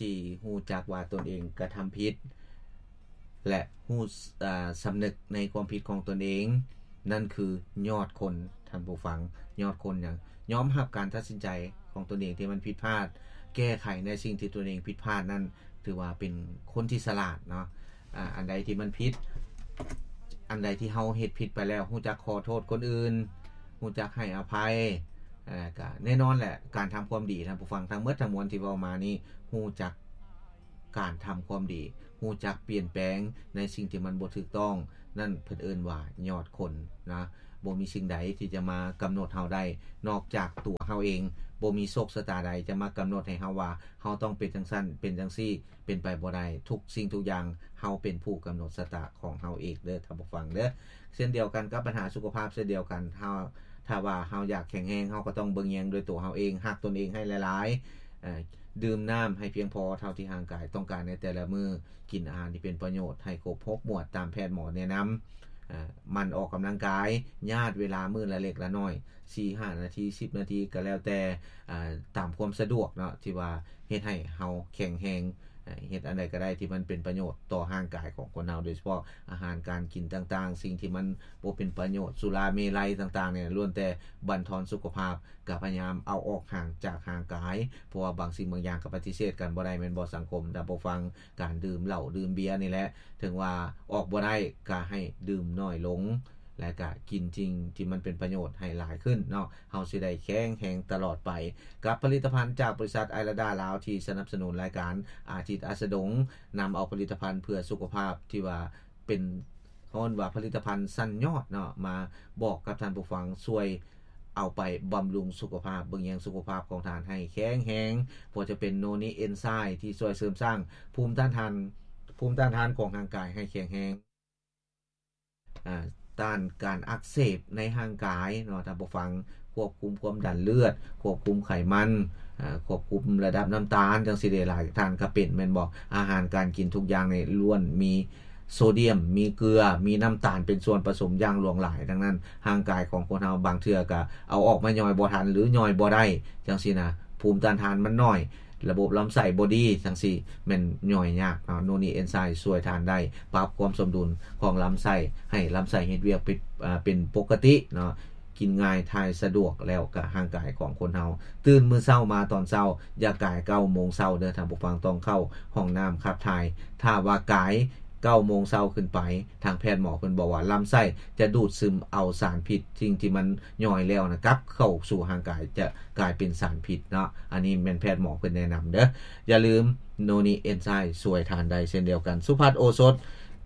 ທີ່ຮູ້ຈັກວ່າຕົນເອງກະທຳຜິດ ແລະ ຮູ້ ເອີ່ ສຳນຶກໃນຄວາມຜິດຂອງຕົນເອງ, ນັ້ນຄືຍອດຄົນ, ທ່ານຜູ້ຟັງ, ຍອດຄົນຫຍັງ? ຍອມຮັບການຕັດສິນໃຈຂອງຕົນເອງທີ່ມັນຜິດພາດ, ແກ້ໄຂໃນສິ່ງທີ່ຕົນເອງຜິດພາດນັ້ນ, ຖືວ່າເປັນຄົນທີ່ສະຫຼາດເນາະ. ອາ ອັນໃດທີ່ມັນຜິດ, ອັນໃດທີ່ເຮົາເຮັດຜິດໄປແລ້ວ, ຮູ້ຈັກຂໍໂທດຄົນອື່ນ, ຮູ້ຈັກໃຫ້ອະໄພ, ແລ້ວກະແນ່ນອນແຫຼະ, ການທຳຄວາມດີ, ທ່ານຜູ້ຟັງ, ທັງໝົດທັງມວນທີ່ເວົ້າມານີ້, ຮູ້ຈັກ ການທຳຄວາມດີ, ຮູ້ຈັກປ່ຽນແປງໃນສິ່ງທີ່ມັນບໍ່ຖືກຕ້ອງ, ນັ້ນເພິ່ນເອີ້ນວ່າຍອດຄົນນະ. ບໍ່ມີສິ່ງໃດທີ່ຈະມາກຳນົດເຮົາໄດ້ ນອກຈາກຕົວເຮົາເອງ. ບໍ່ມີໂຊກຊະຕາໃດຈະມາກຳນົດໃຫ້ເຮົາວ່າ ເຮົາຕ້ອງເປັນຈັ່ງຊັ້ນ ເປັນຈັ່ງຊີ້, ເປັນໄປບໍ່ໄດ້. ທຸກສິ່ງທຸກຢ່າງ ເຮົາເປັນຜູ້ກຳນົດຊະຕາຂອງເຮົາເອງເດີ ທ່ານຜູ້ຟັງເດີ. ເຊັ່ນດຽວກັນກັບບັນຫາສຸຂະພາບເຊັ່ນດຽວກັນ, ເຮົາ ຖ້າວ່າເຮົາຢາກແຂງແຮງ, ເຮົາກໍຕ້ອງເບິ່ງແຍງດ້ວຍຕົວເຮົາເອງ, ຮັກຕົນເອງໃຫ້ຫຼາຍໆ, ເອີ່ ດື່ມນ້ຳໃຫ້ພຽງພໍເທົ່າທີ່ຮ່າງກາຍຕ້ອງການໃນແຕ່ລະມື້, ກິນອາຫານທີ່ເປັນປະໂຫຍດໃຫ້ຄົບຫົກໝວດຕາມແພດໝໍແນະນຳ, ເອີ່ ໝັ່ນອອກກຳລັງກາຍ, ຍາດເວລາມື້ລະເລັກລະນ້ອຍ, ສີ່ຫ້ານາທີ, ສິບນາທີ ກໍແລ້ວແຕ່, ເອີ່ ຕາມຄວາມສະດວກເນາະ, ທີ່ວ່າເຮັດໃຫ້ເຮົາແຂງແຮງ, ເຮັດອັນໃດກໍໄດ້ທີ່ມັນເປັນປະໂຫຍດຕໍ່ຮ່າງກາຍຂອງຄົນເຮົາ, ໂດຍສະເພາະອາຫານການກິນຕ່າງໆ, ສິ່ງທີ່ມັນບໍ່ເປັນປະໂຫຍດ, ສຸລາເມໄລຕ່າງໆນີ້ ລ້ວນແຕ່ບັນທອນສຸຂະພາບ. ກໍພະຍາຍາມເອົາອອກຫ່າງຈາກຮ່າງກາຍ, ເພາະວ່າບາງສິ່ງບາງຢ່າງກໍປະຕິເສດກັນບໍ່ໄດ້ແມ່ນບໍ່ສັງຄົມ ທ່ານຜູ້ຟັງ? ການດື່ມເຫຼົ້າດື່ມເບຍນີ້ແຫຼະ, ເຖິງວ່າອອກບໍ່ໄດ້ກໍໃຫ້ດື່ມໜ້ອຍລົງ ແລະ ກໍກິນສິ່ງທີ່ມັນເປັນປະໂຫຍດໃຫ້ຫຼາຍຂຶ້ນເນາະ, ເຮົາຊິໄດ້ແຂງແຮງຕະຫຼອດໄປ. ກັບຜະລິດຕະພັນຈາກບໍລິສັດໄອລາດາລາວ ທີ່ສະໜັບສະໜູນລາຍການອາທິດອາສະດົງ, ນຳເອົາຜະລິດຕະພັນເພື່ອສຸຂະພາບທີ່ວ່າ ເປັນ ເຂົາເອີ້ນວ່າຜະລິດຕະພັນຊັ້ນຍອດເນາະ, ມາບອກກັບທ່ານຜູ້ຟັງ, ຊ່ວຍເອົາໄປບຳລຸງສຸຂະພາບ, ເບິ່ງແຍງສຸຂະພາບຂອງທ່ານໃຫ້ແຂງແຮງ, ບໍ່ວ່າຈະເປັນໂນນິເອນໄຊທີ່ຊ່ວຍເສີມສ້າງພູມຕ້ານທານ, ພູມຕ້ານທານຂອງຮ່າງກາຍໃຫ້ແຂງແຮງ, ອາ ຕ້ານການອັກເສບໃນຮ່າງກາຍເນາະ, ທ່ານຜູ້ຟັງ, ຄວບຄຸມຄວາມດັນເລືອດ, ຄວບຄຸມໄຂມັນ, ອາ ຄວບຄຸມລະດັບນ້ຳຕານ ຈັ່ງຊີ້ເດ. ຫຼາຍທ່ານກໍເປັນແມ່ນບໍ່? ອາຫານການກິນທຸກຢ່າງນີ້ລ້ວນມີ ໂຊດຽມ, ມີເກືອ, ມີນ້ຳຕານເປັນສ່ວນປະສົມຢ່າງຫຼວງຫຼາຍ, ດັ່ງນັ້ນ ຮ່າງກາຍຂອງຄົນເຮົາບາງເທື່ອກະເອົາອອກມາຍ່ອຍບໍ່ທັນ ຫຼື ຍ່ອຍບໍ່ໄດ້ ຈັ່ງຊີ້ນະ, ພູມຕ້ານທານມັນໜ້ອຍ, ລະບົບລຳໄສ້ບໍ່ດີ ຈັ່ງຊີ້ ແມ່ນຍ່ອຍຍາກເນາະ. ໂນນິເອນໄຊຊ່ວຍທ່ານໄດ້ ປັບຄວາມສົມດຸນຂອງລຳໄສ້ ໃຫ້ລຳໄສ້ເຮັດວຽກເປັນ ອາ ເປັນປົກກະຕິເນາະ, ກິນງ່າຍ ຖ່າຍສະດວກ ແລ້ວກະຮ່າງກາຍຂອງຄົນເຮົາ ຕື່ນມື້ເຊົ້າມາຕອນເຊົ້າ ຢ່າກາຍເກົ້າໂມງເຊົ້າເດີທ່ານຜູ້ຟັງ, ຕ້ອງເຂົ້າຫ້ອງນ້ຳຂັບຖ່າຍ. ຖ້າວ່າກາຍເກົ້າໂມງເຊົ້າຂຶ້ນໄປ ທາງແພດໝໍເພິ່ນບອກວ່າລຳໄສ້ຈະດູດຊຶມເອົາສານພິດ ສິ່ງທີ່ມັນຍ່ອຍແລ້ວນະ ກັບເຂົ້າສູ່ຮ່າງກາຍ ຈະກາຍເປັນສານພິດເນາະ. ອັນນີ້ແມ່ນແພດໝໍເພິ່ນແນະນຳເດີ. ຢ່າລືມ ໂນນິເອນໄຊຊ່ວຍທ່ານໄດ້ເຊັ່ນດຽວກັນ. ສຸພັດໂອສົດ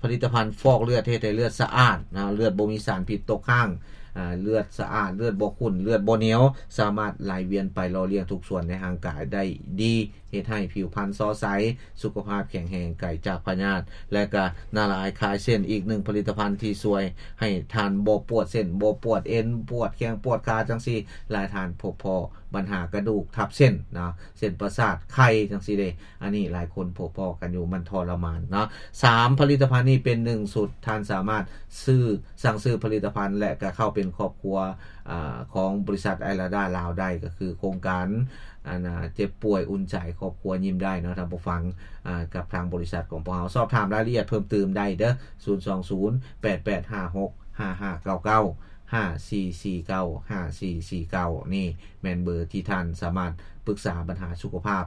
ຜະລິດຕະພັນຟອກເລືອດ ເຮັດໃຫ້ເລືອດສະອາດນະ, ເລືອດບໍ່ມີສານພິດຕົກຄ້າງ, ອາ ເລືອດສະອາດ, ເລືອດບໍ່ຂຸ້ນ, ເລືອດບໍ່ໜຽວ, ສາມາດໄຫຼວຽນໄປຫຼໍ່ລ້ຽງທຸກສ່ວນໃນຮ່າງກາຍໄດ້ດີ, ເຮັດໃຫ້ຜິວພັນສໍໃສ, ສຸຂະພາບແຂງແຮງ, ໄກຈາກພະຍາດ. ແລະກະນາລາຍຄາຍເສັ້ນ ອີກໜຶ່ງຜະລິດຕະພັນທີ່ຊ່ວຍໃຫ້ທ່ານບໍ່ປວດເສັ້ນ, ບໍ່ປວດເອັນ, ປວດແຂ້ງ, ປວດຂາ ຈັ່ງຊີ້. ຫຼາຍທ່ານພົບພໍ້ບັນຫາກະດູກທັບເສັ້ນນະ, ເສັ້ນປະສາດໄຄ ຈັ່ງຊີ້ເດ. ອັນນີ້ຫຼາຍຄົນພົບພໍ້ກັນຢູ່, ມັນທໍລະມານເນາະ. ສາມຜະລິດຕະພັນນີ້ເປັນໜຶ່ງຊຸດ, ທ່ານສາມາດຊື້ ສັ່ງຊື້ຜະລິດຕະພັນ ແລະກະເຂົ້າເປັນຄອບຄົວ ອາ ຂອງບໍລິສັດໄອລາດາລາວໄດ້, ກໍຄືໂຄງການ ອັນ ເຈັບປ່ວຍອຸ່ນໃຈ ຄອບຄົວຍິ້ມໄດ້ເນາະທ່ານຜູ້ຟັງ, ອາ ກັບທາງບໍລິສັດຂອງພວກເຮົາ. ສອບຖາມລາຍລະອຽດເພີ່ມຕື່ມໄດ້ເດີ ສູນສອງສູນ ແປດແປດຫ້າຫົກ ຫ້າຫ້າເກົ້າເກົ້າ ຫ້າສີ່ສີ່ເກົ້າ ຫ້າສີ່ສີ່ເກົ້າ ນີ້ແມ່ນເບີທີ່ທ່ານສາມາດປຶກສາບັນຫາສຸຂະພາບ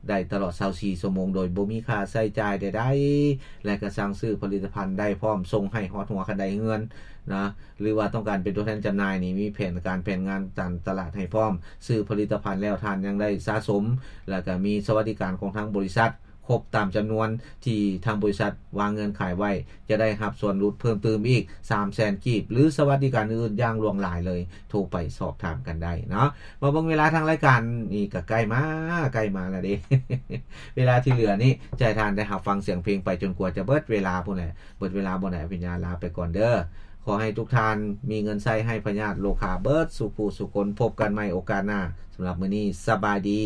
ໄດ້ຕະຫຼອດຊາວສີ່ຊົ່ວໂມງ ໂດຍບໍ່ມີຄ່າໃຊ້ຈ່າຍໃດໆ ແລະກະສັ່ງຊື້ຜະລິດຕະພັນໄດ້ພ້ອມ, ສົ່ງໃຫ້ຮອດຫົວຄັນໄດເຮືອນນະ. ຫຼືວ່າຕ້ອງການເປັນຕົວແທນຈຳໜ່າຍນີ້ ມີແຜນການແຜນງານການຕະຫຼາດໃຫ້ພ້ອມ, ຊື້ຜະລິດຕະພັນແລ້ວທ່ານຍັງໄດ້ສະສົມ ແລ້ວກະມີສະຫວັດດີການຂອງທາງບໍລິສັດຄົບຕາມຈຳນວນທີ່ທາງບໍລິສັດວາງເງື່ອນໄຂໄວ້, ຈະໄດ້ຮັບສ່ວນຫຼຸດເພີ່ມຕື່ມອີກສາມແສນກີບ ຫຼືສະຫວັດດີການອື່ນໆຢ່າງຫຼວງຫຼາຍເລີຍ, ໂທໄປສອບຖາມກັນໄດ້ເນາະ. ມາເບິ່ງເວລາທາງລາຍການນີ້ກະໃກ້ມາ, ໃກ້ມາແລ້ວເດ້. ເວລາທີ່ເຫຼືອນີ້ ຈະໃຫ້ທ່ານໄດ້ຮັບຟັງສຽງເພງໄປຈົນກວ່າຈະເບິດເວລາພຸ້ນແຫຼະ. ເບິດເວລາບໍ່ໄດ້ ອະພິນຍາລາໄປກ່ອນເດີ. ຂໍໃຫ້ທຸກທ່ານມີເງິນໃຊ້ ໄຮ້ພະຍາດໂລຄາເບິດສູ່ຜູ້ສູ່ຄົນ. ພົບກັນໃໝ່ໂອກາດໜ້າ. ສຳລັບມື້ນີ້ ສະບາຍດີ.